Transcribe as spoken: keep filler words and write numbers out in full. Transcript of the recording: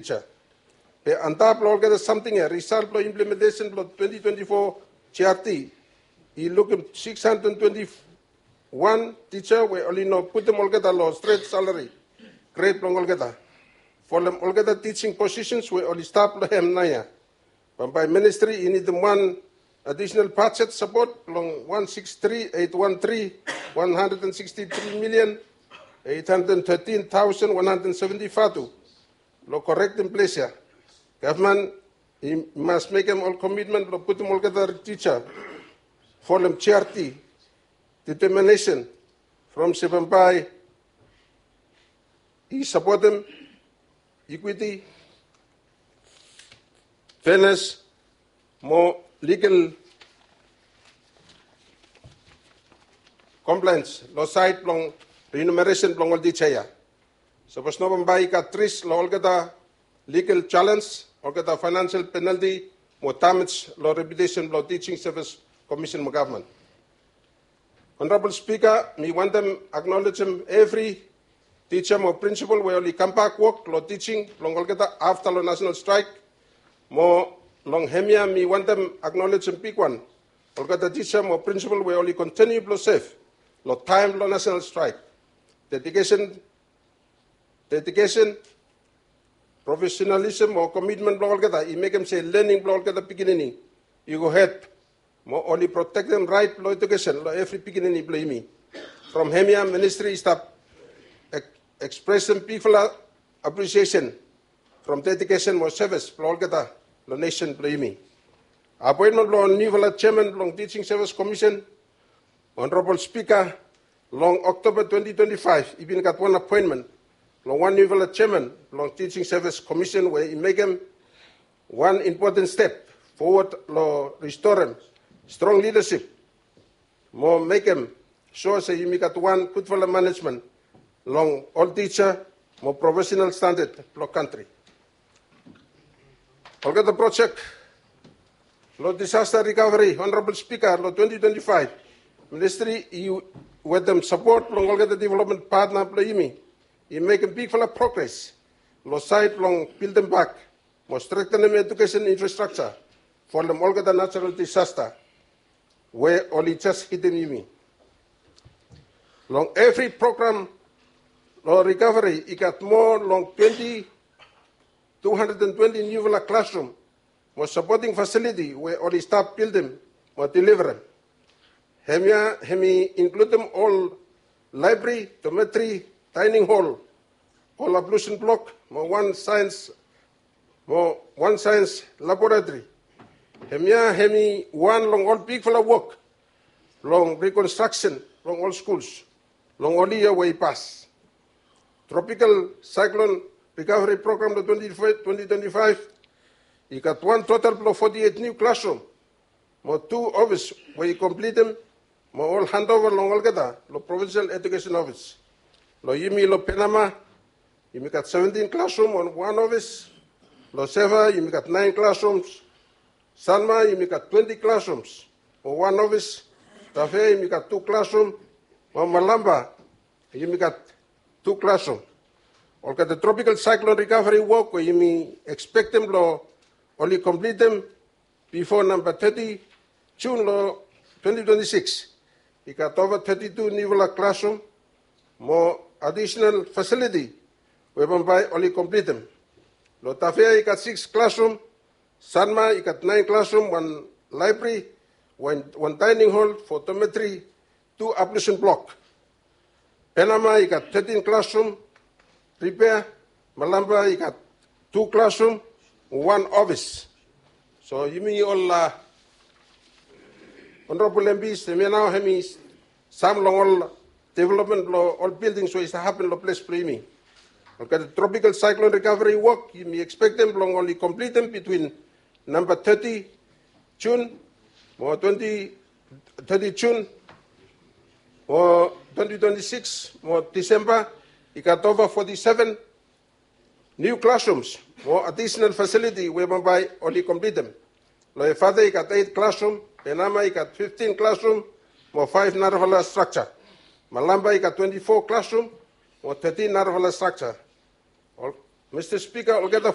teacher. Be antap long olgeta samting ya, result blong implementation blong twenty twenty-four G R T i lukim six hundred twenty-one teacher we oli no putum olgeta long stret salary grade blong olgeta. Folem olgeta teaching positions we oli stap long hem naoia. Bambae ministri i nidim wan additional budget support long one six three eight one three one hundred and sixty-three million eight hundred thirteen thousand one hundred seventy fatu long correcting place ya. Gavman i mas mekem ol commitment blong putum olgeta teacher folem G R T determination from se bambae i supportem equity, fairness, mo legal compliance long side blong remuneration blong ol teacher ya. Sapos no bambae i gat risk long olgeta legal challenge, olgeta financial penalty mo damage long reputation blong Teaching Service Commission mo government. Honorable Speaker, mi wantem acknowledgem evri teacher mo principal we oli kambak wok long teaching blong olgeta afta long national strike. Mo long hemia mi wantem acknowledgem bigwan olgeta teacher mo principal we oli continue blong serve long taem blong national strike. Dedication, dedication, professionalism mo commitment blong olgeta i mekem se learning blong olgeta pikinini i go hed. Mo oli protektem rait blong education long evri pikinini blong yumi. From hemia ministri i stap ek- ekspresem bigfala appreciation from dedication mo service blong olgeta long nation blong yumi. Appointment blong nufala chairman blong Teaching Service Commission, Honorable Speaker, long October twenty twenty-five i bin gat wan appointment long wan nufala chairman blong Teaching Service Commission we i mekem wan important step forward long restorem strong leadership mo mekem sua se yumi gat wan gudfala management long ol teacher mo professional standard blong kantri. Olgeta projek long disaster recovery, Honorable Speaker, long twenty twenty-five, ministri i wetem support blong olgeta development partner blong yumi i mekem bigfala progress long side blong building back mo strengthenem education infrastructure folem olgeta natural disaster we oli jes hitim yumi. Long evri program long recovery i gat moa long twenty, two hundred and twenty nufala classroom mo supporting facility we oli stap building mo deliverem. Hemia hem i includem ol library, dormitory, dining hall, ol ablution block mo wan science mo wan science laboratory. Hemia hem i wan long ol bigfala wok long reconstruction long ol schools long ol yia we i pas. Tropical Cyclone Recovery Program long twenty twenty-five i gat wan total blong forty-eight new classroom mo tu ofis we i komplitem mo ol handova long olgeta long Provincial Education Office. Long yumi long Penama yumi gat seventeen classroom mo wan ofis. Long Seva yumi gat nine classrooms. Sanma yumi gat twenty classrooms mo wan ofis. Tafea yumi gat tu classroom mo Malampa yumi gat tu classroom. Olgeta tropical cyclone recovery wok we yumi ekspektem blong oli komplitem bifo namba thirty Jun long twenty twenty-six i gat ova thirty-two nufala classroom mo additional facility we bambae oli komplitem. Long Tafea i gat six classroom, Sanma i gat nine classroom, wan library, wan, wan dining hall for dormitory, tu ablution block. Penama i gat thirteen classroom repair, Malampa i gat tu classroom, wan ofis. So yumi ol, a, Honorable M Ps, hemia nao hem i sam long ol development blong ol buildings we i save hapen long ples blong yumi. Olgeta tropical cyclone recovery wok yumi ekspektem blong oli komplitem bitwin namba thirty Jun mo twenty, thirty Jun mo twenty twenty-six mo Disemba i gat ova forty-seven new classrooms mo additional facility we bambae oli komplitem. Long Efate i gat eight classroom, Penama i gat fifteen classroom mo five narafala structure. Malampa i gat twenty-four classroom mo thirteen narafala structure. Ol-, Mista Spika, olgeta